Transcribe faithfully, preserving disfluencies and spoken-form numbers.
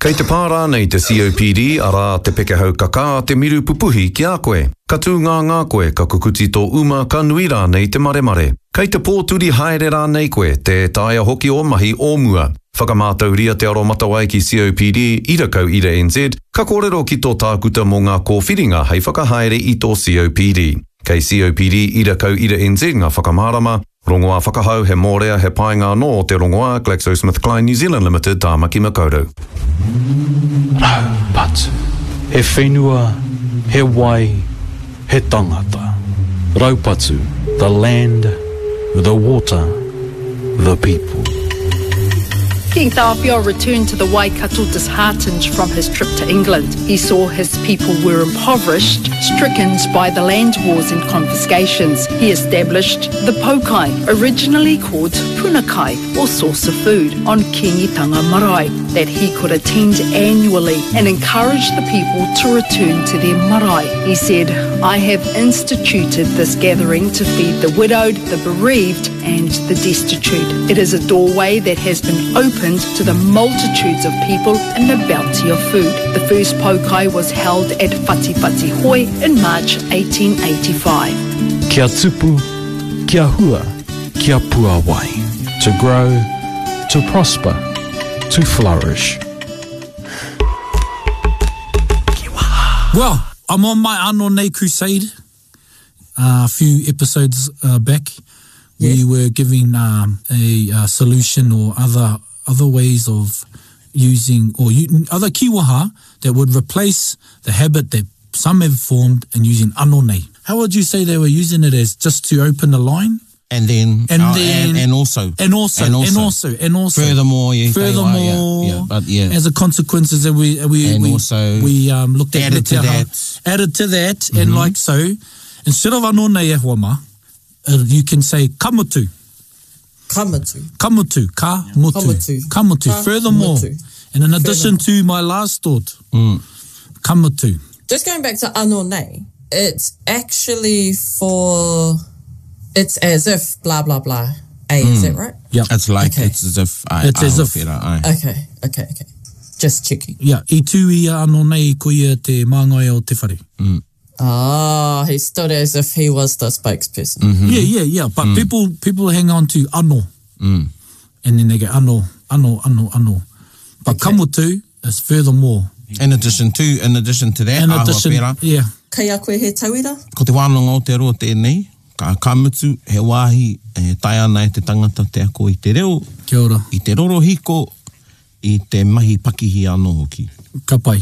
Kei te pā rānei te C O P D, arā te pekehau kakā, te miru pupuhi ki a koe. Ka tū ngāngā koe, ka kukuti tō uma, ka nui rānei te maremare. Kei te pōturi haere rānei koe, tē taea hoki ō mahi o mua. Whakamātauria te aromatawai ki C O P D, ira kau ira N Z, ka kōrero ki tō tākuta mō ngā kōwhiringa hei whakahaere i tō C O P D. Kei C O P D ira kau ira N Z ngā whakamārama. Rongoā whakahau, he mōrea, he painga anō o te rongoā, GlaxoSmithKline New Zealand Limited, Tāmaki Makaurau. Raupatu. He whenua, he wai, he tangata. Raupatu, the land, the water, the people. King Tāwhiao returned to the Waikato disheartened from his trip to England. He saw his people were impoverished, stricken by the land wars and confiscations. He established the Poukai, originally called Punakai, or source of food, on Kingitanga Marae, that he could attend annually and encourage the people to return to their marae. He said, "I have instituted this gathering to feed the widowed, the bereaved, and the destitute. It is a doorway that has been opened to the multitudes of people and the bounty of food." The first Poukai was held at Whatiwhatihoe in March eighteen eighty-five. Kia tupu, kia hua, kia puawai. To grow, to prosper, to flourish. Well, I'm on my Ano Nei crusade. Uh, a few episodes uh, back, we were giving um, a, uh solution or other other ways of using or u- other kiwaha that would replace the habit that some have formed in using ano nei. How would you say they were using it as just to open the line? And then, And oh, then- and, and also, And also, and and also, also, and also. Furthermore, yeah, Furthermore, yeah, yeah, but yeah, as a consequences that we we And we, also we um, looked at added to Te Aha. that. Mm-hmm. Added to that, and like so, instead of ano nei e hoa mā, uh, you can say kamutu. Kamutu. Kamutu, ka mutu. Kamutu. Kamutu. Ka Furthermore, mutu. And in addition to my last thought, Mm. kamutu. Just going back to ano nei, it's actually for, it's as if blah blah blah. A, is that right? Yeah. It's like Okay. it's as if I, It's as I if. Wera, ai. Okay, okay, okay. Just checking. Yeah, i tū ia ano nei ko ia te māngai o te whare. Ah, he stood as if he was the spokesperson. Yeah, yeah, yeah. But people people hang on to ano. And then they go ano, ano, ano, ano. But Okay. kamutu is furthermore. In addition to, in addition to that, In āhua addition, pērā, yeah. Kei a koe he tauira? Ko te wānanga o Aotearoa tēnei, ka, ka mutu, he wāhi e taea ana e te tangata te ako i te reo, Kia ora. I te rorohiko, i te mahi pakihi anō hoki. Ka pai.